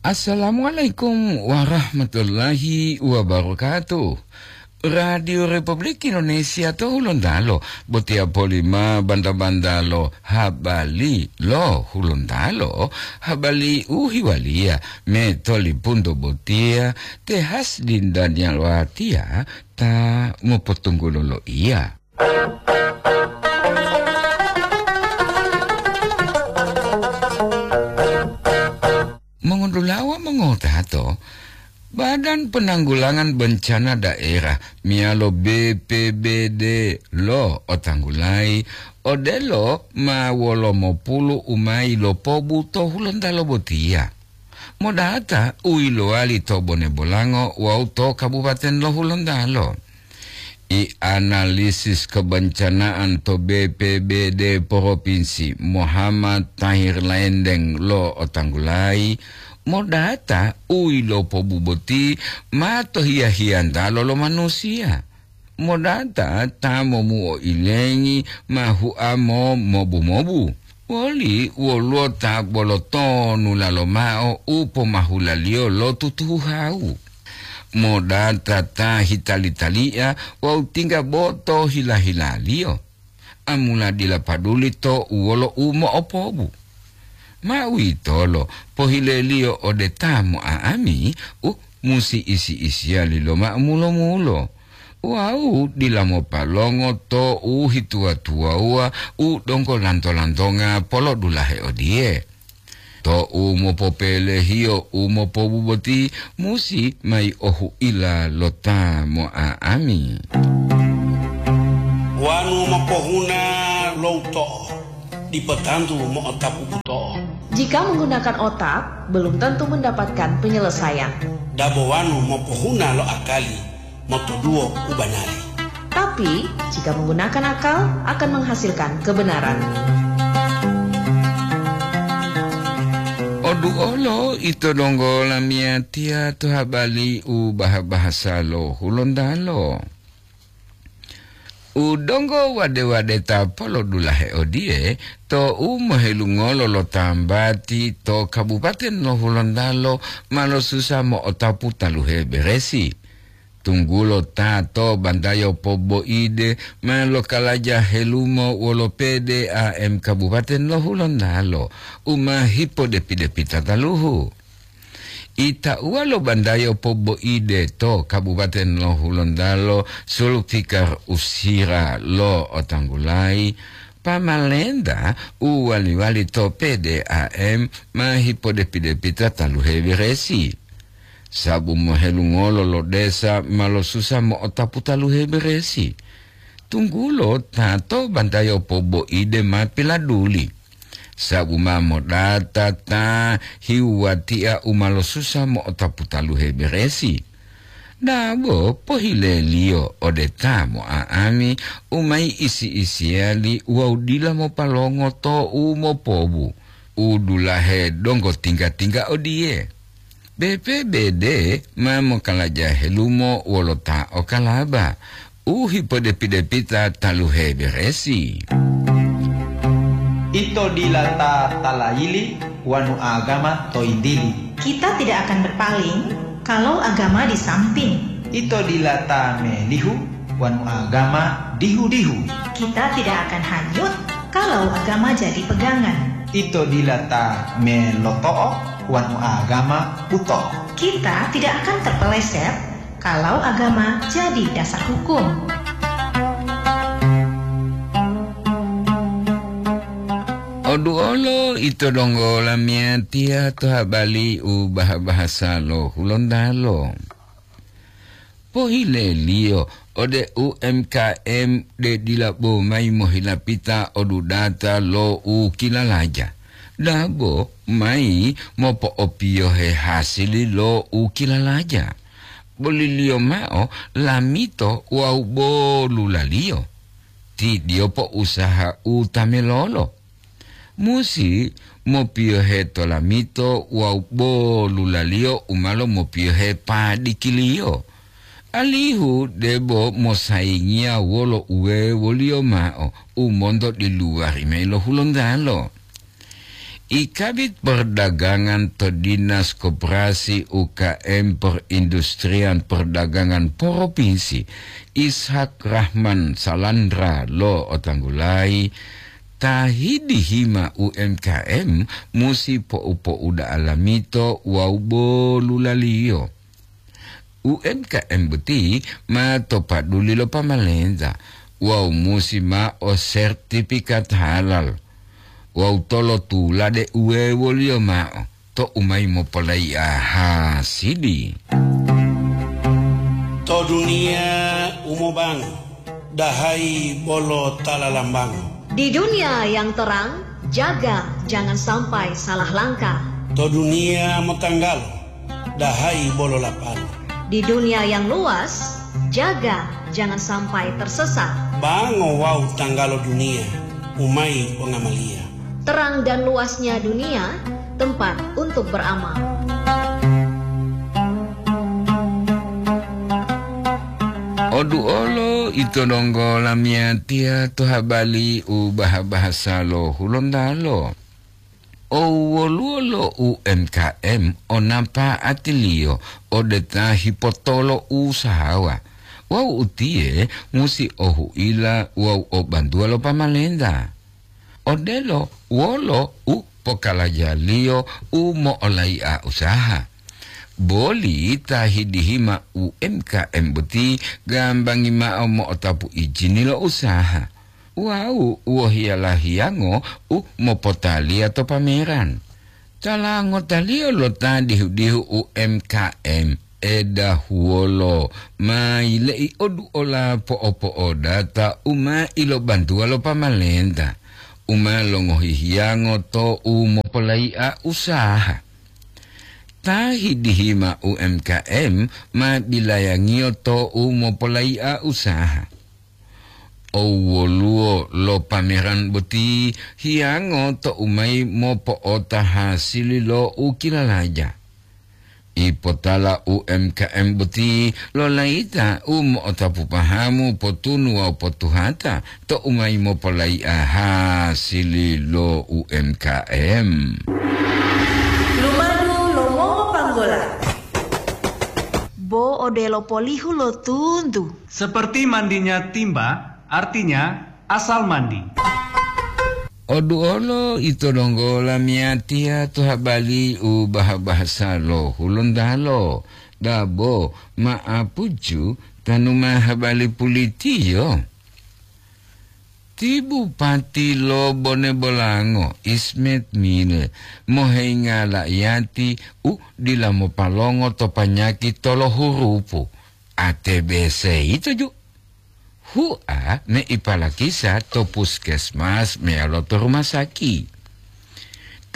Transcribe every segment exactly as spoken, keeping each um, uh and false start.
Assalamualaikum warahmatullahi wabarakatuh. Radio Republik Indonesia to Hulontalo, botiya polima banta-banta lo habali lo Hulontalo, habali u hiwaliya me tolipunto botiya, te Hasdin Daniel Watiya ta mopotunggulo loiya. Mongotulawa mongotato, Badan Penanggulangan Bencana Daerah meyalo B P B D lo otanggulayi odelo ma wolo mopulu u ma yilopobu to Hulontalo botiya. Modata u yilowali to Bone Bolango wawu to Kabupaten lo Hulontalo. I analisis kebencanaan to B P B D Provinsi Muhammad Tahir Laendeng lo otanggulayi, modata u yilopobu boti ma to hiya-hiyantalo lo manusiya. Modata ta momuo ilengi ma huamo mobu-mobu. Woli woluwo ta bolo tonu lalo mao u pomahulaliyo lo tutuhuhawu. Modata ta hitali-talia wawu tingga boto hila-hilaliyo. Amula dila paduli to u wolo u mo'opobu. Ma uwitolo, pohileliyo ode ta mo'a'ami u musi isi-isiyali loma'o mulo-mulo. Wawu dila mopalongo to u hituwa-tuwawuwa u donggo lanto-lantonga polodulahe odiye, to u mopopelehiyo u mopobu boti musi mayi ohu'ila lo ta mo'a'ami. Wanu mopohuna lo uto'o, dipo tantu mo'otapu buto'o. Jika menggunakan otak, belum tentu mendapatkan penyelesaian. Dabo wanu mopohuna lo akali, motoduwo u banari. Tapi, jika menggunakan akal, akan menghasilkan kebenaran. Oduolo ito donggo lamiyatiya to habali u baha-bahasa lo Hulontalo. U donggo wade-wadeta polodulahe odiye, to u mohelungolo lo tambati to Kabupaten lo Hulontalo ma losusa mo'otapu taluhe beresi. Tunggulo ta to bantayo poboide ma lokalaja helumo wolo P D A M Kabupaten lo Hulontalo u ma hipodepi-depita taluhu. Itauwa lo bantayo poboide to Kabupaten lo Hulontalo, Sulfikar Usira lo otanggulayi, pamalenta u wali-wali to P D A M ma hipodepi-depita taluhe beresi. Sabu mohelungolo lo desa ma losusa mo'otapu taluhe beresi. Tunggulo ta to bantayo poboide ma piladuli. Sabu ma modata ta hiwatiya u ma losusa mo'otapu taluhe beresi. Dabo pohileliyo ode ta mo'a'ami u mayi isi-isiyali wawu dila mopalongo to u mopobu, u dulahe donggo tingga-tingga odiye. B P B D ma mokalaja helumo wolo ta okalaba u hipodepi-depita taluhe beresi. Ito dila ta talayili wanu agama to yintili. Kita tidak akan berpaling kalau agama di samping. Ito dila ta melihu wanu agama dihu-dihu. Kita tidak akan hanyut kalau agama jadi pegangan. Ito dila ta meloto'o wanu agama buto'o. Kita tidak akan terpeleset kalau agama jadi dasar hukum. Oduolo ito donggo lamiyatiya to habali u baha-bahasa lo Hulontalo. Pohileliyo ode U M K M de dila bo mayi mohilapita odudata lo u kilalaja, dabo mayi mopo'opiyohe hasili lo u kilalaja. Boliliyo mao lamito wawu bolulaliyo. Tidiyo po'usaha u tamelolo. Musi mopiyohe tolamito wawu bolulaliyo u ma lomopiyohe padikiliyo, alihu debo mosayingiya wolo uwewoliyo mao u monto diluwari mayi lo Hulontalo. I Kabid Perdagangan to Dinas Koperasi U K M Perindustrian Perdagangan Provinsi, Ishak Rahman Salandra lo'otanggulayi, ta hidihima U M K M musi po'u-po'uda'a lamito wawu bolulaliyo. U M K M boti ma to paduli lo pamalenta wawu musi mao sertifikat halal wawu tolotula deu wewoliyo mao to u mayi mopolai'a hasili. To duniya u mobango, dahayi bolo ta lalambango. Di dunia yang terang, jaga jangan sampai salah langkah. To duniya motanggalo, dahayi bolo lapalo. Di dunia yang luas, jaga jangan sampai tersesat. Bango wawu tanggalo duniya, u mayi pongamaliya. Terang dan luasnya dunia, tempat untuk beramal. Oduolo ito donggo lamiyatiya to habali u baha-bahasa lo Hulontalo. O woluwo lo U M K M o napa'atiliyo ode ta hipotolo usahawa, wawu utiye musi o huila wawu o bantuwa lo pamalenta. Odelo wolo u pokalajaliyo u mo'olai'a usaha. Boli ta hidihima U M K M boti gambangi mao mo'otapu ijini lo usaha wawu wohiya lahiyango u mopotaliya to pameran. Tala ngotaliyo lo ta dihu-dihu U M K M edahuwolo ma yile'i oduola po'opo'odata u ma ilobantuwa lo pamalenta, u ma longohi hiyango to u mopolai'a usaha. Ta hidihima U M K M ma bilayangiyo to u mopolai'a usaha. O woluwo lo pameran boti hiyango to u mayi mopo'ota hasili lo u kilalaja. Ipotala U M K M boti lo layita u mo'otapu pahamu, potunu wawu potuhata to u mayi mopolai'a hasili lo U M K M. Lumadu lo mongopanggola. Bo odelo polihu lo tuntu. Seperti mandinya timba, artinya asal mandi. Oduolo ito donggo lamiyatiya to habali u baha-bahasa lo Hulontalo, dabo ma'apucu tanu ma habali pulitiyo. Ti Bupati lo Bone Bolango, Ismet Mile, moheinga la'iyati u dila mopalongo to panyaki tolohurupu, A T B C yito ju. Hua me ipalakisa to puskesmas meyalo to rumah saki.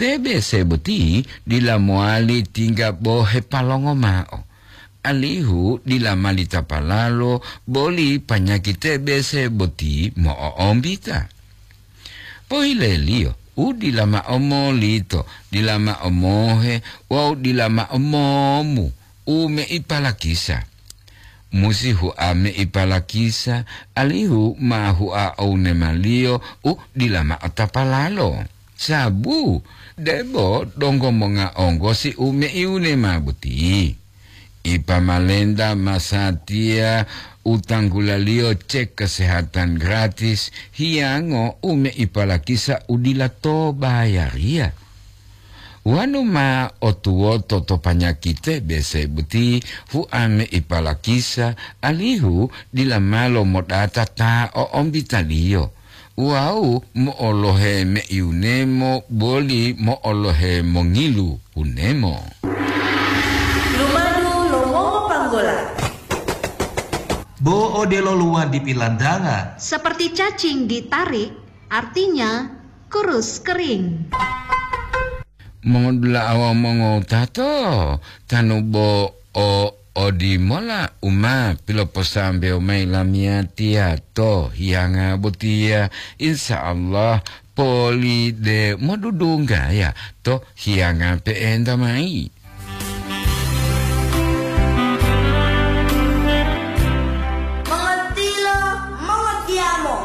T B C boti dila mowali tingga bo hepalongo mao, alihu dila malitapalalo boli panyaki T B C boti mo'o'ombita. Pohileliyo, u dila mao molito, dila mao mohe wawu dila mao momu u meipalakisa. Musi hua meipalakisa, alihu ma hua ounema-Liyo u dila mao tapalalo. Sabu debo donggo monga onggosi u meiunema boti. Ipamalenta masatiya u tanggulaliyo cek kesehatan gratis, hiyango u meipalakisa u dila to bayariya. Wonu ma otuwoto to panyaki T B C boti, hua meipalakisa, alihu dila malo modata ta o'ombitaliyo. Wawu mo'olohe meiunemo boli mo'olohe mongilu hunemo. Lumadu lo mongopanggola. Bo odelo luwadi pilantanga. Seperti cacing ditarik, artinya kurus kering. Mongodula'a wawu mongowutato, tanu bo o odimola u ma piloposambewo mayi lamiyatiya to hiyanga botiya, insya Allah poli de modudunggaya to hiyanga pe'enta mayi.